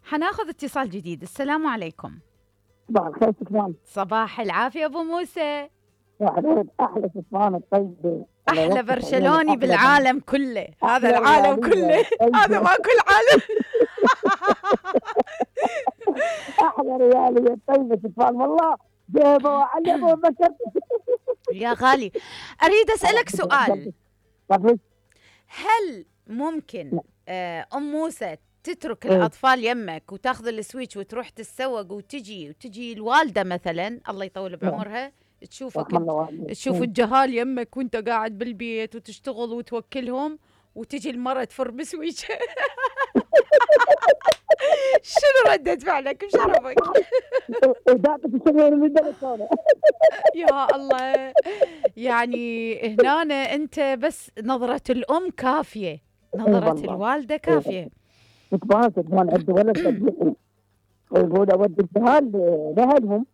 حناخذ اتصال جديد. السلام عليكم. صباح الخير سلطان. صباح العافية أبو موسى. يا حبيبي أحلى سلطان الطيب، أحلى برشلوني بالعالم كله، هذا العالم كله، هذا ماكو العالم. أحلى ريالية طيبة سلطان والله، جيبه وعلمه وذكرت. يا غالي أريد أسألك سؤال، هل ممكن أم موسى تترك الأطفال يمك وتاخذ السويتش وتروح تتسوق وتجي الوالدة مثلا الله يطول بعمرها تشوف الجهال يمك وانت قاعد بالبيت وتشتغل وتوكلهم وتجي المرة تفر بسويتش؟ شنو ردة فعلك؟ مش عرفك. يا الله، يعني هنا انت بس نظرة الأم كافية، نظرة الوالدة كافية. كمان عندي ولد صديقي يقول اودي الجهال لاهلهم.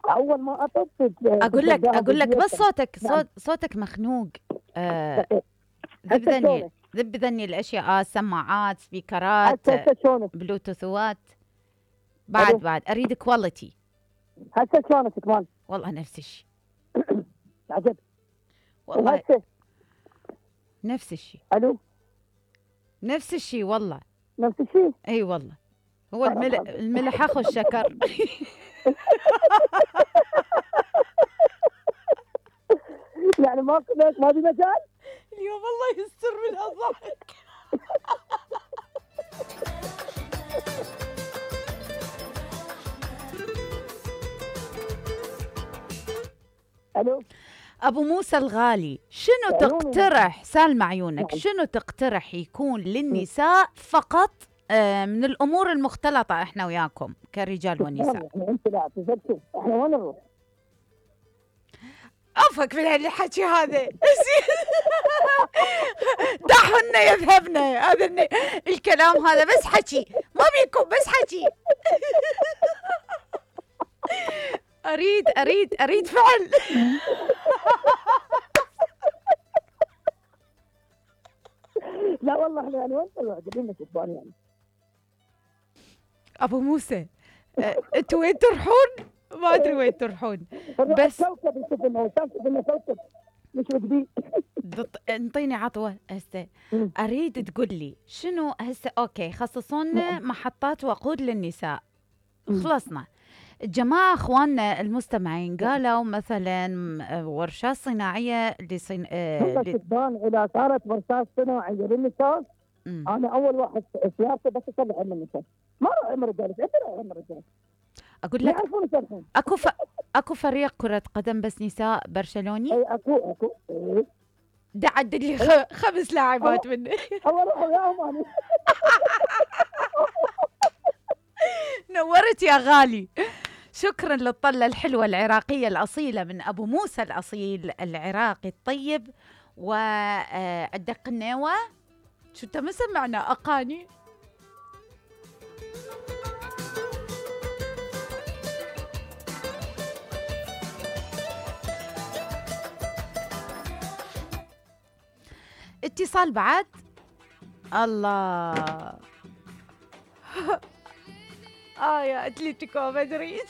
اول ما اطفت اقول لك بس صوتك مخنوق. ذب ذني الاشياء، سماعات، سبيكرات، بلوتوثوات. بعد اريد كواليتي. هسه شلونك كمان؟ والله نفس الشيء. عجب والله نفس الشيء. الو نفس الشيء والله. نفس الشيء؟ اي والله. هو الملح اخو الشكر. يعني ما في مجال اليوم. الله يستر من الضحك. الو ابو موسى الغالي، شنو تقترح؟ سالم عيونك، شنو تقترح يكون للنساء فقط من الامور المختلطه احنا وياكم كرجال ونساء؟ انت لا تزكي، احنا وين نروح؟ افك من الحكي هذا. دعهن يذهبن، هذا الكلام هذا بس حكي، ما بيكم بس حكي. اريد فعل. لا والله احنا يعني وين قاعدين نشوفون يعني. ابو موسى انتوا وين تروحون؟ ما ادري وين تروحون، بس كوكب كوكب مش وجدي. انطيني عطوه هسه. اريد تقول لي شنو هسه. اوكي، خصصونا محطات وقود للنساء، خلصنا. الجماعة اخواننا المستمعين قالوا مثلا ورشات صناعية اذا صارت ورشات صناعية للنساء، انا اول واحد سيارتي بس اصلح من النساء، ما راح امر الرجال. انت راح امر الرجال. اقول لك اكو فريق كرة قدم بس نساء برشلوني. اي اكو ده عدد لي 5 لاعبات منه. الله روح وياهم. نورت يا غالي. شكرا للطلة الحلوة العراقية الأصيلة من أبو موسى الأصيل العراقي الطيب. وعندك قناوة شو انت مسمعنا أقاني. اتصال بعد. الله. يا اتلتيكو مدريد.